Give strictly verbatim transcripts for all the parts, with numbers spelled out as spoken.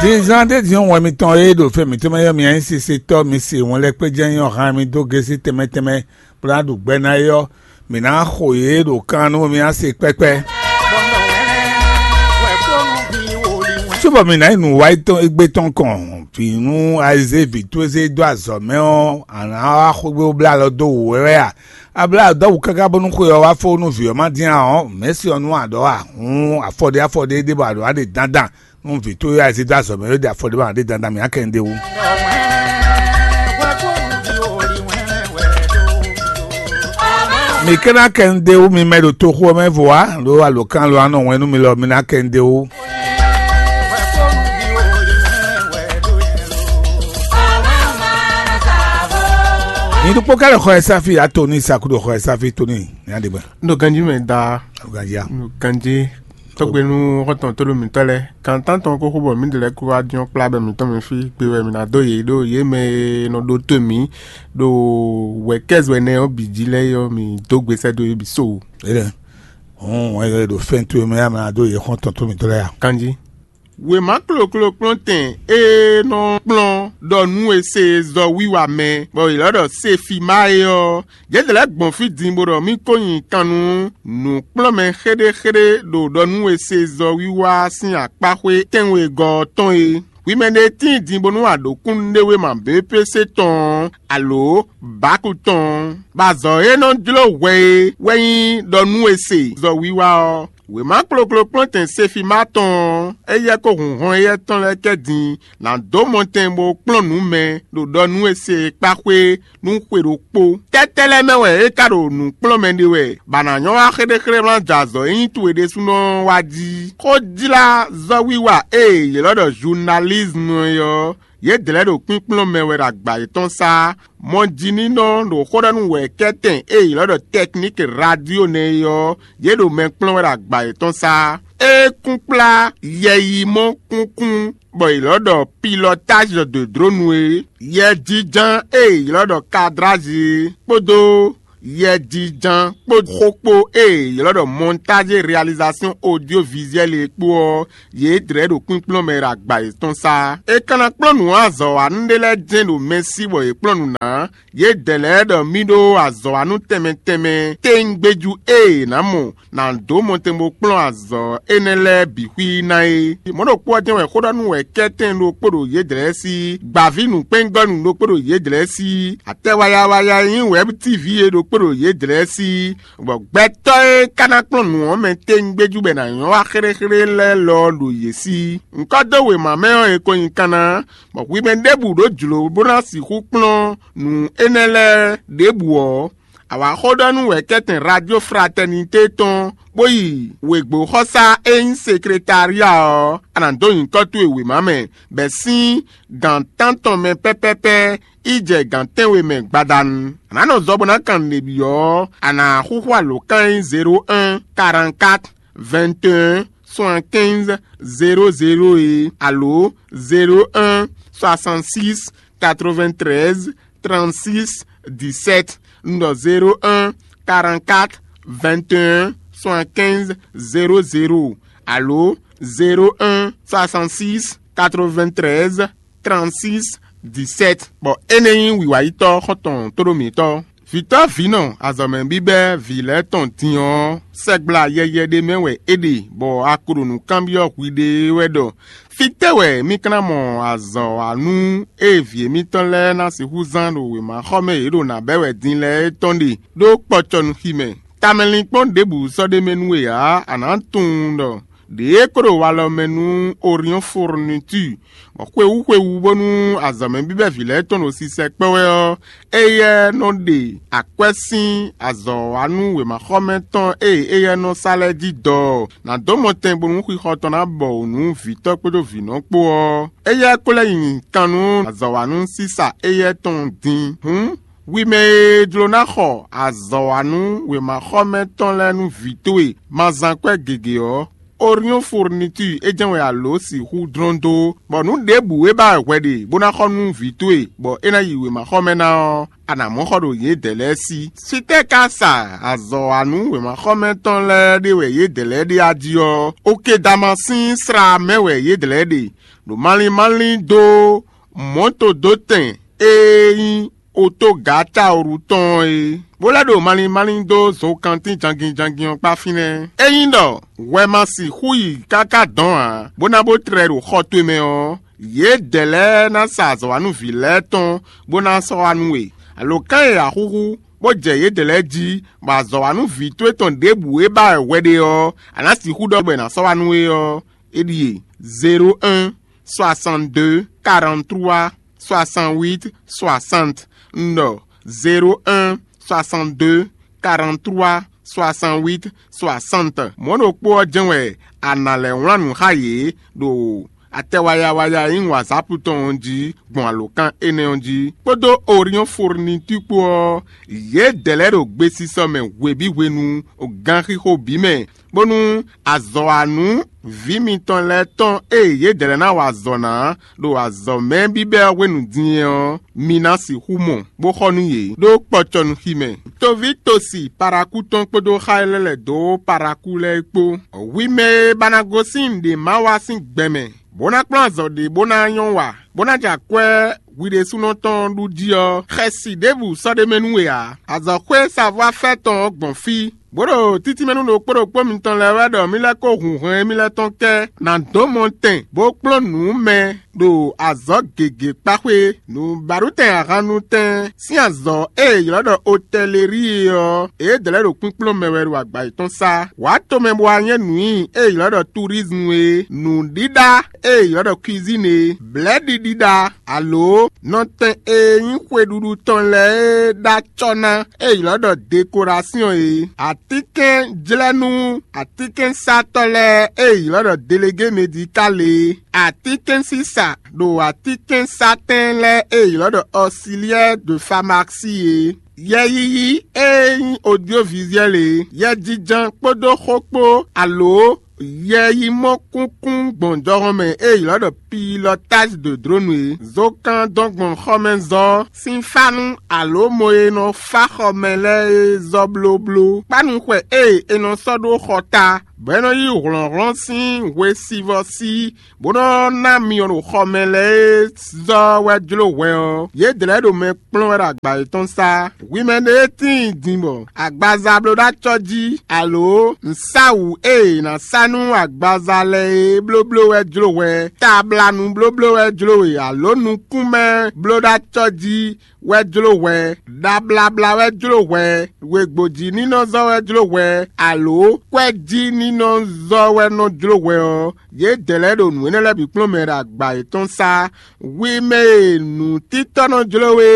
Dǐnzán ɖé din wɛn mitɔn e ɖo fɛ mǐtɔn mɛ ɔ́, mi anyí sisetɔ́, mi se wɛn lɛ́ kpé jɛ́n nyí ɔ́, han mi dó gésí tɛnmɛ tɛnmɛ, bó ná ɖu gbɛ ná é ɔ́, mǐ ná xo yě ɖo kan nú mi ná se kpɛ́kpɛ́. Cóbɔ mǐ ná yi nǔ wá égbé tɔn kɔn, vǐ nú ayizé vǐ towe zé dó azɔ̌ mɛ ɔ́, a nǎ wá xwé bó blá alɔ dó wǔ wɛ wɛ a? A blá alɔ dó wǔ káká bónú xwe ɔ́ wá fó nú vǐ ɔ́ má dín ǎ ɔ́, mɛ̌si ɔ́ nú a ɖɔ a? Hǔn afɔɖé afɔɖé ɖé bɔ a ɖǒ a ɖe dandan nú vǐ towe ayizé dó azɔ̌ mɛ ɖó ɖe afɔɖé bɔ a ɖe dandan mǐ á kɛ nu ɖé wú. Mi ka ná kɛ nu ɖé wú mi mɛ ɖo toxo ɔ́ mɛ vo ǎ, ɖó alǒkan lo anɔ wɛn nú mi lɔ mi ná kɛ nu ɖé wú. Nyi ɖokpó ká ɖo xɔ ɛ sáfi ato ní saku ɖo xɔ ɛ sáfi tó ní ní aɖegbɛ. Ɖo ganjí mɛ daa. Ganjí a. Ɖo ganjí. Tɔgbe nú xɔtɔn tó ɖo mǐtɔn lɛ́ɛ, kan tántɔn kó xó bɔ mǐ ɖe lɛ́ɛ kó wá jɔ́n kplá bɔ mǐtɔn mɛ fí gbe wɛ mǐ ná dó yě ɖó yě mɛ e nɔ ɖótó mǐ ɖo wɛ̌kɛ́zwɛ nɛ́ ɔ́ bǐ jí lɛ́ɛ é ɔ́, mǐ dó gbe sɛ́ dó yě bǐ so. Éɖɛ́. Hɔn wɛn e ɖo fɛ́n towe mɛ ɔ́, a ma ná dó yě xɔ́ntɔn tó mǐtɔn lɛ́ɛ a? Kanjí. Wěma kloklo kplɔ́ntɛn e nɔ kplɔ́n ɖɔ nú e se zɔ wiwa mɛ, bɔ yě lɔ́ ɖɔ Sefima é ɔ́, yě lɛ́ gbɔn fí din bó ɖɔ mì ko nyi kan nú nǔkplɔ́nmɛ xéɖéxéɖé ɖo ɖɔ nú e se zɔ wiwa sín akpáxwé tɛ́nwegɔ́ ɔ́ tɔn é. Hwi mɛ ɖé tíin din bónú a ɖǒ kúnnuɖewéma B P C tɔn ɔ́, alǒ Baku tɔn ɔ́, bɔ azɔ̌ e nɔ jló hwɛ é wɛ nyí ɖɔ nú e se zɔ wiwa ɔ́. Wěma kloklo kplɔ́ntɛn Sefima tɔn ɔ́, éyɛ́ kó hun hɔn éyɛ́ tɔn lɛ́ɛ kɛ din, nǎ dó mɔtɛn bó kplɔ́n nǔ mɛ ɖo ɖɔ nú e se e kpá xwé nú xwe ɖokpó. Tɛ́tɛ́ lɛ́ɛ mɛ wɛ é ka ɖo nǔ kplɔ́n mɛ ɖe wɛ, bɔ a nǎ nyɔ́ wá xéɖéxéɖé wlán jɛ azɔ̌ e nyí towe ɖésúnɔ ɔ́ wá jí? Xójlázɔ́wiwa e yě lɔ́ ɖɔ zunalízmu é ɔ́, yědɛɛ lɛ́ɛ ɖo kpínkplɔ́n mɛ wɛ ɖo agba yětɔn sá. Mɔjínínɔ ɖo xó ɖɔ nú wɛ̌kɛ́tɛn e yě lɔ́ ɖɔ tɛkníki radio nɛ́ é ɔ́, yě ɖo mɛ kplɔ́n wɛ ɖo agba yětɔn sá. É kún kplá yɛyimɔ kúnkún bɔ è lɔ́ ɖɔ pilɔtázi de dronu é, yɛjínján e è lɔ́ ɖɔ kadrázi é, kpódó yɛjínján kpó xó kpó e è lɔ́ ɖɔ mɔntázi réalizasyon odyovizuɛ́li é kpó ɔ́, yě dlɛ̌ ɖo kpínkplɔ́n mɛ ɖo agba yětɔn sá. É ka ná kplɔ́n nǔ azɔ̌wanú ɖé lɛ́ɛ jɛ́n ɖo mɛ sí bɔ yě kplɔ́n nǔ ná. Yědɛɛ lɛ́ɛ ɖɔ mì ɖó azɔ̌wanú tɛnmɛ tɛnmɛ téŋgbéjú e è nǎ mɔ nǎ dó mɔtɛn bó kplɔ́n azɔ̌ énɛ́ lɛ́ɛ bǐ xwí ná é. Mɔ̌ ɖokpó ɔ́ jɛ́n wɛ xó ɖɔ nú wɛ̌kɛ́tɛn ɖokpó ɖo yědɛɛ sí, gbǎví nǔkpɛ́ngɔ́nú ɖokpó ɖo yědɛɛ sí, atɛ wayawaya e nyí wɛ̌b tíví é ɖokpó ɖo yědɛɛ sí, bɔ gbɛtɔ́ e ka ná kplɔ́n nǔ ɔ́ mɛ téŋgbéjú bɔ è nǎ nyɔ́ wá xéɖéxéɖé lɛ́ɛ lɔ ɔ́ ɖo yě sí. Ŋkɔ́ dó wěma mɛ ɔ́, è ko nyi kanna, bɔ hwi mɛ ɖěbǔ ɖó jlǒ bó ná sixú kplɔ́n nǔ énɛ́ lɛ́ɛ ɖěbǔ ɔ́, a wǎ xó ɖɔ nú wɛ̌kɛ́tɛn Radio Fraternité tɔn, bó yi wěgbóxɔsá e nyí sekretária ɔ́, a nǎ dó nyǐkɔ towe wěma mɛ, bɔ è sín gǎn tántɔn mɛ pɛ́pɛ́pɛ́ yi jɛ gǎn tɛ́nwe mɛ gbadanu. A nǎ nɔ zɔ bó ná kan nǔɖé byɔ́ ɔ́, a nǎ xúxú alǒkan e nyí zéro un, quarante-quatre, vingt et un, soixante-quinze, zéro zéro é, alo zéro un, soixante-six, quatre-vingt-treize, trente-six, dix-sept, un ɖɔ zéro un, quarante-quatre, vingt et un, soixante-quinze, zéro zéro, alo zéro un, soixante-six, quatre-vingt-treize, trente-six, dix-sept. Bɔ énɛ́ nyí wǐwáyítɔ́ xɔ́ntɔn tóɖó mǐtɔn. Vǐtɔ́ vǐnɔ azɔ̌mɛ bíbɛ́ vǐ lɛ́ɛ tɔn din ɔ́, sɛgbla yɛyɛ ɖé mɛ wɛ é ɖe, bɔ a ko ɖo nǔ kanbyɔ́ hwiɖée wɛ ɖɔ: fítɛ́ wɛ mì ka ná mɔ azɔ̌wanú e vǐ émítɔn lɛ́ɛ ná sixú zán ɖo wěmaxɔmɛ e yě ɖo nǎ bɛ́ wɛ din lɛ́ɛ é tɔn ɖe ɖó kpɔcɔnuxi mɛ? Tamɛlinkpɔ́n ɖěbǔ sɔ́ ɖ'é mɛ nú we ǎ; a nǎ tunwun ɖɔ ɖěe kó ɖo walɔ mɛ nú Oriɔ́n Fourniture, bɔ xwewú xwewú bónú azɔ̌mɛ bíbɛ́ vǐ lɛ́ɛ tɔn ɖo sisɛ kpɔ́ wɛ ɔ́, éyɛ́ nɔ ɖe akwɛ́ sín azɔ̌wanú wěmaxɔmɛ tɔn e éyɛ́ nɔ sa lɛ́ɛ jí dɔ ɔ́, nǎ dó mɔtɛn bónú xixɔ tɔn ná bɔ wǔ nú vǐtɔ́ kpódó vǐnɔ kpó ɔ́. Éyɛ́ ko lɛ́ nyi kan nú azɔ̌wanú sísa éyɛ́ tɔn din. Hǔn, hwi mɛ e jló ná xɔ azɔ̌wanú wěmaxɔmɛ tɔn lɛ́ɛ nú vǐ towe ma zán kwɛ́ gěgé ɔ́, Oriɔ́n Fourniture é jɛ́n wɛ a lǒ sixú dlɔ́n dó, bɔ nǔ ɖěbǔ e ba wɛ hwɛ ɖe bó ná xɔ nú vǐ towe, bɔ é ná yi wěmaxɔmɛ ná ɔ́, a nǎ mɔ xɔ ɖo yědɛɛ lɛ́ɛ sí. Fítɛ́ ka sa azɔ̌wanú wěmaxɔmɛ tɔn lɛ́ɛ ɖe wɛ yědɛɛ lɛ́ɛ ɖe a jí ɔ́, Okedama sín slá mɛ wɛ yědɛɛ lɛ́ɛ ɖe, ɖo malín málín dó mɔ̌todótɛn e nyí otógǎ Taolu tɔn ɔ́ é, bó lɛ́ ɖo malín málín dó zokantín jangin jangin ɔ́ kpá fínɛ́. Ényí ɖɔ hwɛ ma sixú yi káká dɔn ǎ, bó ná bó tlɛ ɖo xɔ towe mɛ ɔ́, yědɛɛ lɛ́ɛ ná sa azɔ̌wanúví lɛ́ɛ tɔn bó ná sɔ́ wá nú we. Alǒkan e a xúxú, bó jɛ yědɛɛ lɛ́ɛ jí, bɔ azɔ̌wanúví towe tɔn ɖěbǔ e ba wɛ hwɛ ɖe ɔ́, a nǎ sixú ɖɔ bɔ è nǎ sɔ́ wá nú we ɔ́, é ɖíe: zéro un, soixante-deux, quarante-trois, soixante-huit, soixante. Un ɖɔ: zéro un, soixante-deux, quarante-trois, soixante-huit, soixante. Mɔ̌ ɖokpó ɔ́ jɛ́n wɛ a nǎ lɛ́ wlán nǔ xá yě ɖo atɛ waya waya e nyí WhatsApp tɔn ɔ́ jí gbɔn alǒkan énɛ́ ɔ́ jí, kpódó Orion Fourniture kpó ɔ́, yědɛɛ lɛ́ɛ ɖo gbesisɔ mɛ hwebǐ hwenu, ganxixo bǐ mɛ, bónú azɔ̌wanú vǐ mitɔn lɛ́ɛ tɔn e yědɛɛ lɛ́ɛ ná wa azɔ̌ ná ɖo azɔ̌mɛ bíbɛ́ ɔ́ hwenu din é ɔ́, mi ná sixú mɔ, bó xɔ nú yě ɖó kpɔcɔnuxi mɛ. Toví tosi Parakú tɔn kpódó xá e lɛ́ lɛ̌ dó Parakú lɛ́ɛ é kpó. Hwi mɛ e ba ná gosín nǔɖé ma wa sín gbɛ mɛ, bó ná kplɔ́n azɔ̌ ɖé bó ná nyɔ́ wa, bó ná jɛ akwɛ́ hwi ɖésúnɔ tɔn ɖu jí ɔ́, xɛsi ɖěbǔ sɔ́ ɖ'é mɛ nú we ǎ. Azɔ̌xwé savɔ́ afɛ́ tɔn ɔ́ gbɔn fí, bó ɖo títínmɛ nú ɖokpó ɖokpó mitɔn lɛ́ɛ wɛ ɖɔ mì lɛ́ kó hun hwɛn émí lɛ́ɛ tɔn kɛ ná dó mɔ tɛn, bó kplɔ́n nǔ mɛ ɖo azɔ̌ gěgé kpá xwé. Nǔbáɖutɛn ahannutɛn sín azɔ̌ e è ylɔ́ ɖɔ otɛlerí é ɔ́, yědɛɛ lɛ́ɛ ɖo kpínkplɔ́n mɛ wɛ ɖo agba yětɔn sá. Wǎ tomɛ bó wá nyɛ́ nǔ nyi e è ylɔ́ ɖɔ turizmu é, nǔɖíɖá e è ylɔ́ ɖɔ kwizín é, blɛ̌ɖiɖiɖa, alo nɔtɛn e nyí xweɖuɖu tɔn lɛ́ɛ e ɖó acɔ́ ná e è ylɔ́ ɖɔ dekorasyɔn é, atínkɛnjlɛ́nú atínkɛnsatɔ́ lɛ́ɛ e è ylɔ́ ɖɔ delegé medikál é, atínkɛnsisa ɖo atínkɛnsatɛn lɛ́ɛ e è ylɔ́ ɖɔ ɔsiliyɛ́ de famasí é, yɛyiyi e nyí odyovizyɛ́l é, yɛjijɛ kpódó xó kpó, alo yɛ yi mɔ kúnkún gbɔn jɔhɔn mɛ e ylɔ́ ɖɔ pilotage de drone é. Zokan dɔn gbɔn xɔmɛzɔ́ sín fánú alo mɔ e nɔ fá xɔmɛ lɛ́ɛ é zɔ́ blóbló. Kpánu xwɛ e è nɔ sɔ́ ɖó xɔ ta, bɔ é nɔ yí hlɔ̌nhlɔ́n sín hwesivɔ́ sí, bó nɔ́ ná myɔ ɖo xɔmɛ lɛ́ɛ e zɔ́ wɛ jló hwɛ ɔ́, yědɛɛ lɛ́ɛ ɖo mɛ kplɔ́n wɛ ɖo agba yětɔn sá. Hwi mɛ ɖé e tíin din bɔ agbaza bló ɖó acɔ́ jí, alo nǔsáwǔ e è nǎ sá nú agbaza lɛ́ɛ é blóbló wɛ jló hwɛ, tablanu blóbló wɛ jló we, alo nukúnmɛ bló ɖó acɔ́ jí wɛ jló hwɛ, ɖabláblá wɛ jló hwɛ, wěgbójínínɔzɔ́ wɛ jló hwɛ, alo kwɛ́jínínɔzɔ́ wɛ nɔ jló hwɛ ɔ́, yědɛɛ lɛ́ɛ ɖo nǔ énɛ́ lɛ́ɛ bǐ kplɔ́n mɛ ɖo agba yětɔn sá. Hwi mɛ e nǔtítɔ́ nɔ jló we,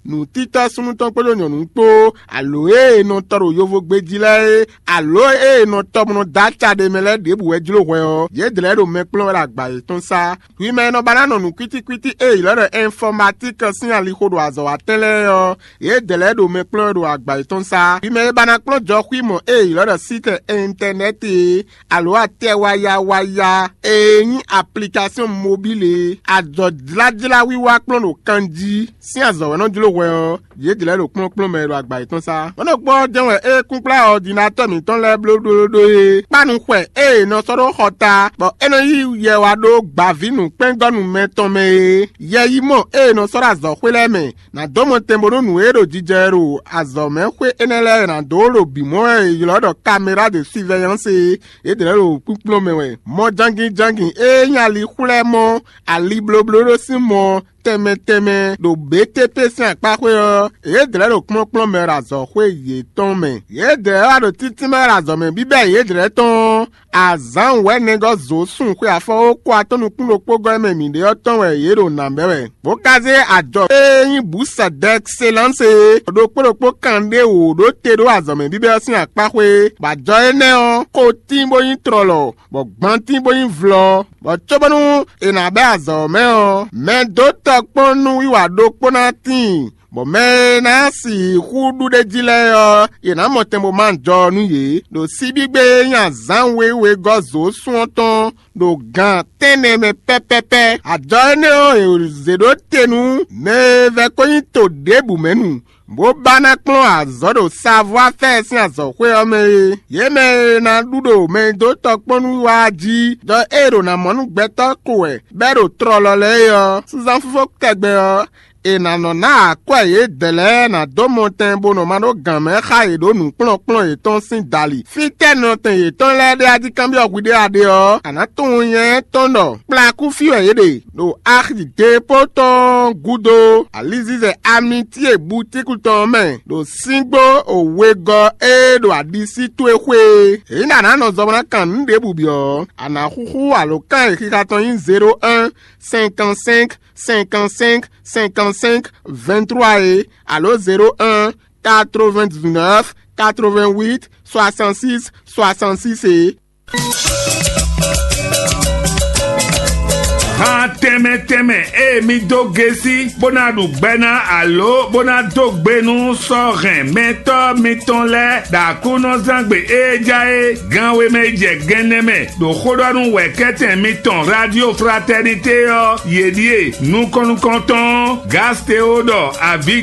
nǔtítɔ́ súnnu tɔn kpódó nyɔ̌nu kpó, alo e è nɔ tɔ ɖo yovogbe jí lɛ́ɛ é, alo e è nɔ tɔ bó nɔ dó aca ɖe mɛ lɛ́ɛ ɖěbǔ wɛ jló hwɛ ɔ́, yědɛɛ lɛ́ɛ ɖo mɛ kplɔ́n wɛ ɖo agba yětɔn sá. Hwi mɛ e nɔ ba ná nɔ nǔ kwítíkwítí e è ylɔ́ ɖɔ ɛnfɔmatík sín alixo ɖo azɔ̌ wa tɛn lɛ́ɛ ɔ́, yědɛɛ lɛ́ɛ ɖo mɛ kplɔ́n wɛ ɖo agba yětɔn sá. Hwi mɛ e ba ná kplɔ́n jɔxwímɔ e è ylɔ́ ɖɔ sítɛ ɛntɛnɛ́ti é, alo atɛ waya waya e nyí aplikasyon mobíl e, ajɔ̌jlájlá wiwa kplɔ́n ɖo kan jí sín azɔ̌ wɛ nɔ jló hwɛ ɔ́, yě jlɛ̌ ɖo kplɔ́nkplɔ́n mɛ e ɖo agba yětɔn sá. Mɔ̌ ɖokpó ɔ́ jɛ́n wɛ é kúnkplá ɔdinatɔ́ mǐtɔn lɛ́ɛ bló ɖó é. Kpánu xwɛ e è nɔ sɔ́ ɖó xɔ ta, bɔ é nɔ yí yɛ wá ɖó gbǎvínǔkpɛ́ngɔ́nú mɛ tɔn mɛ é. Yɛ yi mɔ e è nɔ sɔ́ ɖo azɔ̌xwé lɛ́ɛ mɛ, nǎ dó mɔ tɛn bónú nǔ e ɖo jijɛ wɛ ɖo azɔ̌mɛxwé énɛ́ lɛ́ɛ nǎ dó ɖo bǐ mɔ wɛ è ylɔ́ ɖɔ kaméra de surveillance é. Yědɛɛ ɖo kpínkplɔ́n mɛ wɛ. Mɔ jangin jangin e nyí ali xwlɛ́ mɔ ali blóbló ɖó sín mɔ tɛnmɛ tɛnmɛ ɖo B T P sín akpáxwé ɔ́, yědɛɛ ɖo kplɔ́nkplɔ́n mɛ ɖo azɔ̌xwé yětɔn mɛ. Yědɛɛ wá ɖo títínmɛ ɖo azɔ̌ mɛ bíbɛ́ yědɛɛ tɔn ɔ́, azǎn wɛ̌nɛgɔ́ zǒ sun xwe afɔwókó atɔ́ nukún ɖokpó gɔ́ mɛ mǐ ɖe ɔ́ tɔn wɛ yě ɖo nǎ bɛ́ wɛ. Bó ka zé ajɔ e nyí bǔsɛ d'ɛkselánse e ɖokpó ɖokpó kan ɖé wǒ ɖó te ɖó azɔ̌ mɛ bíbɛ́ ɔ́ sín akpáxwé, bɔ ajɔ énɛ́ ɔ́, xo tín bó nyí tlɔlɔ, bɔ gban tín bó nyí vlɔ, bɔ cóbónú è nǎ bɛ́ azɔ̌ ɔ́ mɛ ɔ́, mɛ dó tɔkpɔ́n nú wiwa ɖokpó ná tíin, bɔ mɛ e ná sixú ɖu ɖ'é jí lɛ́ɛ ɔ́, yě ná mɔ tɛn bó má jɔ nú yě, ɖo síbígbe e nyí azǎn wěwegɔ́ zǒsún ɔ́ tɔn ɖo gan tɛ́nnɛ mɛ pɛ́pɛ́pɛ́. Ajɔ énɛ́ ɔ́, è zě ɖó te nú mɛ e vɛ́ ko nyí to ɖěbǔ mɛ nu, bó ba ná kplɔ́n azɔ̌ ɖo savɔ́ afɛ́ɛ sín azɔ̌xwé ɔ́ mɛ é. Yě mɛ e ná ɖu ɖo mɛ e dó tɔkpɔ́nú wá jí, ɖɔ ée ɖo ná mɔ nú gbɛtɔ́ ko wɛ bɛ́ ɖo tlɔlɔ lɛ́ɛ é ɔ́, sínsán fífó tɛgbɛ ɔ́, è nǎ nɔ ná akwɛ́ yědɛɛ lɛ́ɛ ná dó mɔtɛn bó nɔ ma ɖó gǎn mɛ xá yě ɖó nǔkplɔ́nkplɔ́n yětɔn sín dali. Fítɛ́ nɔtɛn yětɔn lɛ́ɛ ɖe a jí kanbyɔ́ hwi ɖé a ɖe ɔ́, a nǎ tunwun nyɛ tɔn ɖɔ kplakú fí wɛ yě ɖe ɖo axi dépó tɔn gúdo alizizɛ amitíe butíku tɔn mɛ ɖo síngbó wegɔ́ e ɖo aɖisí towe xwé é. Ényí a nǎ nɔ zɔ bó ná kan nǔ ɖěbǔ byɔ́ ɔ́, a nǎ xúxú alǒkan e xixa tɔn nyí zéro un cinquante cinq cinquante cinq cinquante cinq vingt trois é, alo zéro un quatre-vingt-dix-neuf quatre-vingt-huit soixante-six soixante-six é. Han tɛnmɛ tɛnmɛ e mi dó gesi bó ná ɖu gbɛ ná alo bó ná dó gbe nú sɔ́ hɛn mɛtɔ́ mitɔn lɛ́ɛ ɖo Aklúnɔzán gbe e ja é gan wemɛ yi jɛ gɛnnɛ mɛ ɖo xóɖɔ́nú wɛ̌kɛ́tɛn mitɔn Radio Fraternité ɔ́, yě ɖíe nukɔn nukɔntɔn Gasteo ɖɔ avi